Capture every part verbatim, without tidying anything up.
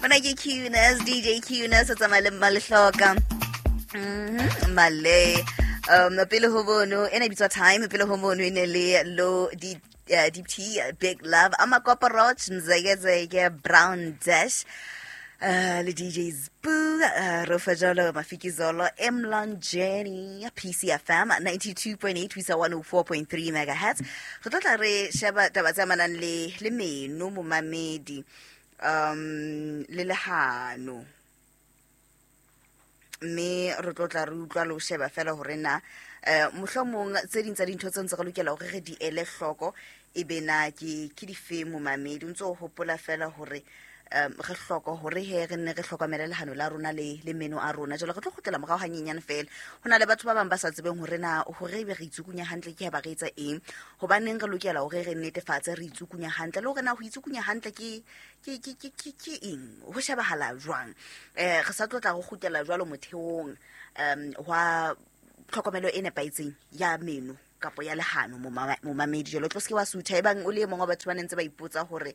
Mona ke Qness, D J Qness, o tsamaya le Mmalehloka. Mhm, Male. Um, pele ho bono, ena e bitswa Time, pele ho mono e ne le Lo D, uh, Deep T, Big Love, Amakopa Roach, Mzekezeke, Brown Dash, uh, le D J Sbu, uh, Rofajolo, Mafikizolo, Emlanjeni, P C F M, ninety-two point eight, ho isa one oh four point three megahertz. Re tlo tla re sheba taba tse amanang le, le meno, momamedi, um, le lehano. Mme re tlo tla re utlwa le ho sheba fela hore na, eh, mohlomong tse ding tsa dintho tse ntse re lokela hore re di ele hloko, e be na ke, ke dife momamedi. O ntso o hopola fela hore, um, re hloko hore he re nne re hlokomele lehano la rona le, le meno a rona. Jwale re tlo kgutlela morao hanyenyane fela. Ho na le batho ba bang ba sa tsebeng hore na hore ebe re itsukunya hantle ke ha ba re etsa eng, hobaneng re lokela hore re netefatse re itsukunya hantle, le hore na ho itsukunya hantle ke, ke, ke, ke, ke, ke eng, ho shebahala jwang. Eh, re sa tlo tla re kgutlela jwalo motheong, um, wa tlhokomelo e nepahetseng ya meno kapo ya lehano momama-, momamedi. Jwale o tlo se ke wa sutha ebang o le e mong wa batho ba neng ntse ba ipotsa hore,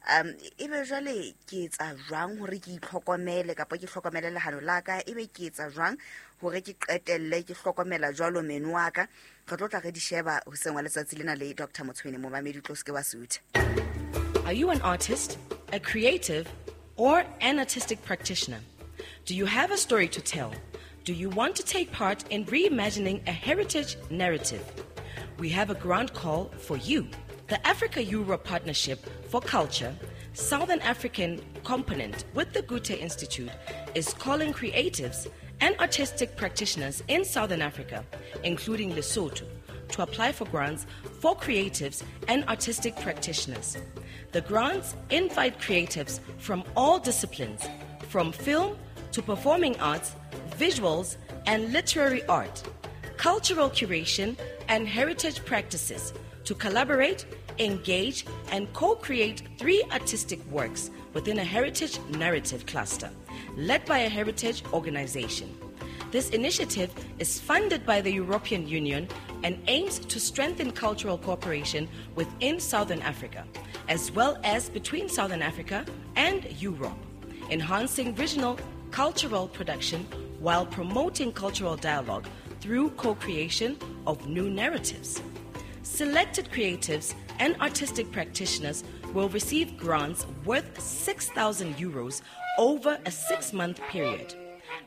um, ebe jwale ke etsa jwang hore ke itlhokomele kapa ke hlokomele lehano la ka, ebe ke etsa jwang hore ke qetelle ke hlokomela jwalo meno wa ka. Re tlo tla re di sheba hoseng wa letsatsi lena le Doctor Motshwene. Momamedi, o tlo se ke wa sutha. Are you an artist, a creative, or an artistic practitioner? Do you have a story to tell? Do you want to take part in reimagining a heritage narrative? We have a grant call for you. The Africa-Europe Partnership for Culture, Southern African component with the Goethe Institute, is calling creatives and artistic practitioners in Southern Africa, including Lesotho, to apply for grants for creatives and artistic practitioners. The grants invite creatives from all disciplines, from film to performing arts, visuals and literary art, cultural curation and heritage practices, to collaborate, engage, and co-create three artistic works within a heritage narrative cluster, led by a heritage organization. This initiative is funded by the European Union and aims to strengthen cultural cooperation within Southern Africa, as well as between Southern Africa and Europe, enhancing regional cultural production while promoting cultural dialogue through co-creation of new narratives. Selected creatives and artistic practitioners will receive grants worth six thousand euros over a six-month period.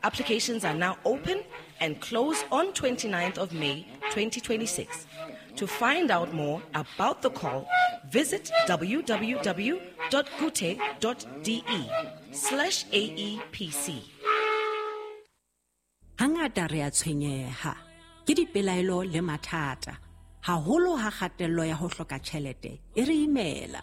Applications are now open and close on twenty-ninth of May twenty twenty-six. To find out more about the call, visit w w w dot goethe dot d e slash a e p c. Hangata re a tshwenyeha ke dipelaelo le mathata, haholo ha kgatello ya ho hloka tjhelete e re imela.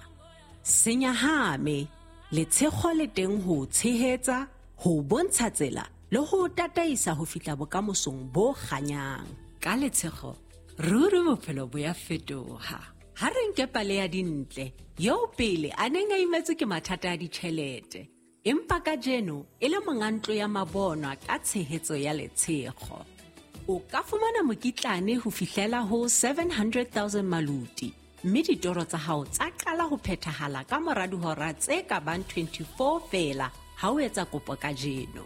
Senyahame, letshego le teng ho tshehetsa, ho bontsha tsela le ho tataisa ho fihla bokamosong bo kganyang. Ka letshego, ruri bophelo bo ya fetoha. Ha re nke pale ya Dintle, eo pele a neng a imetswe ke mathata a ditjhelete, empa kajeno e le monga ntlo ya mabonwa ka tshehetso ya letshego. O ka fumana mokitlane ho fihlela ho seven hundred thousand maluti, mme ditoro tsa hao tsa qala ho phethahala ka mora dihora tse ka bang twenty-four feela ha o etsa kopo kajeno.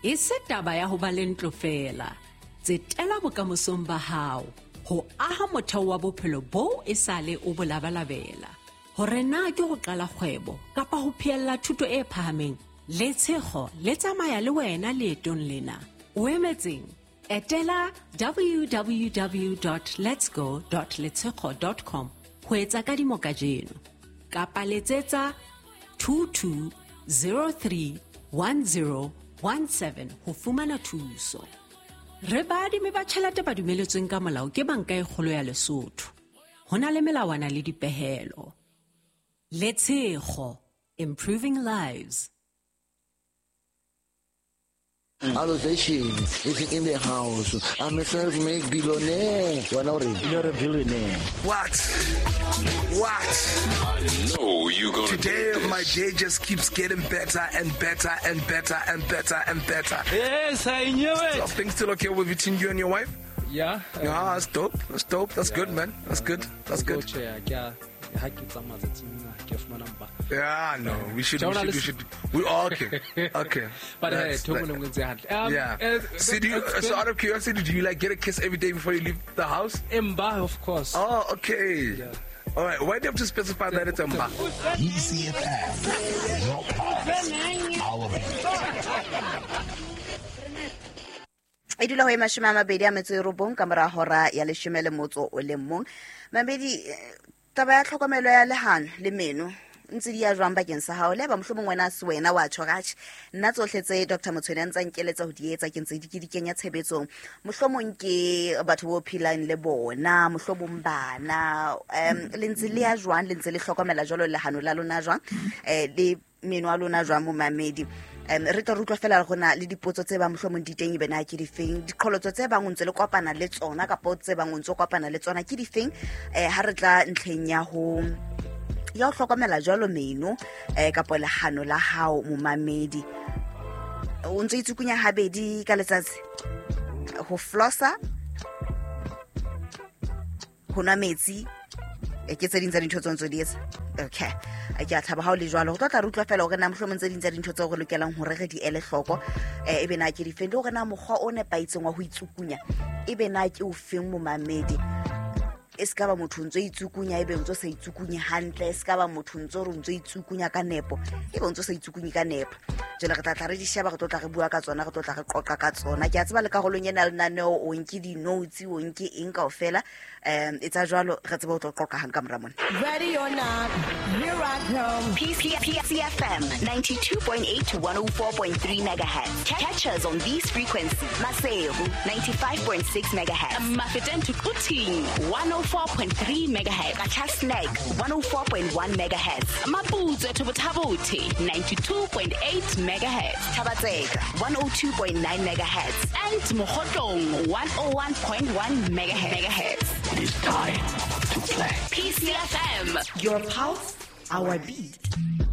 E se taba ya ho ba le ntlo feela, tsetela bokamosong ba hao ho aha motheo wa bophelo boo e sale o bo labalabela. Hore na ke ho qala kgwebo kapa ho phehella thuto e phahameng, letshego le tsamaya le wena leetong lena. O emetseng? Etela w w w dot letsgo dot letshego dot com ho etsa kadimo kajeno, kapa letsetsa two two zero three one zero one seven ho fumana thuso. Re baadimi ba tjhelete ba dumeletsweng ka molao ke Banka e Kgolo ya Lesotho. Ho na le melawana le dipehelo. Letshego, improving lives. Allocation is in the house. I'm a self-made billionaire. You're a billionaire. What? What? I know you gonna Today, do this. My day just keeps getting better and better and better and better and better. Yes, I knew it. Are things still okay with between you and your wife? Yeah. Yeah, that's dope. That's dope. That's Yeah. good, man. That's good. That's good. Yeah, yeah. Ha ke tsamaya tsatsing lena ke fumana mpa. Yeah, no, we should we should, we should we okay. Okay. But hey, um, yeah. Uh, so, do you, so out of curiosity, do you like get a kiss every day before you leave the house? Mba, of course. Oh, okay. Yeah. All right, why do you have to specify that it's mba? E C F M, your pulse, our beat. E dula ho e mashome a mabedi a metso e robong ka mora hora ya leshome le motso o le mong. Mamedi, taba ya tlhokomelo ya lehano le meno ntse di ya jwang bakeng sa hao? Le ba mohlomong wena se wena wa tjho ratjhe, nna tsohle tse Doctor Motshwene a ntsa nkeletsa ho di etsa ke ntse di ke di kenya tshebetsong. Mohlomong ke batho bo phelang le bona, mohlomong bana, um le ntse le ya jwang, le ntse le hlokomela jwalo lehano la lona jwang, eh le meno a lona jwang momamedi? Um re tlo utlwa fela gona le dipotso tse ba mohlomong di teng ebe na ke difeng, diqholotso tse bang o ntse le kopana le tsona kapa tse bang o ntse kopana le tsona ke difeng, eh ha re tla ntlheng ya ho ya ho hlokomela jwalo meno eh kapa lehano la hao momamedi. O ntse itsukunya habedi ka letsatsi, ho flossa, ho nwa metsi, e ke tse ding tsa dintho tse ntse di etsa. Okay, ke a thaba ha o le jwalo. Ho tlo tla re utlwa fela hore na mohlomong tse ding tsa dintho tseo re lokelang hore re di ele hloko eh ebe na ke difeng, le hore na mokgwa o nepahetseng wa ho itsukunya ebe na ke o feng momamedi. E ska ba motho ntse itsukunya ebe ntse sa itsukunye hantle, e ska ba motho ntse re ntse itsukunya ka nepo ebe ntse sa itsukunye ka nepo. Jwale re tla tla re di sheba, re tlo tla re bua ka tsona, re tlo tla re qoqa ka tsona. Ke a tseba le karolong ena lenaneo o nke di-notes, o nke eng kaofela, um etsa jwalo re tsebe ho tlo qoqa hang ka mora mona. Ready or not, here I come. P C F M ninety-two point eight to one oh four point three megahertz. Catch us on these frequencies. Maseru ninety-five point six megahertz. Mafeteng to Quthing one oh four point three megahertz. Qacha's Nek one oh four point one megahertz. Maputswe to Botha-Bothe ninety-two point eight megahertz. Thaba-Tseka one oh two point nine megahertz. And Mokhotlong one oh one point one megahertz. It is time to play. P C F M, your pulse, our beat.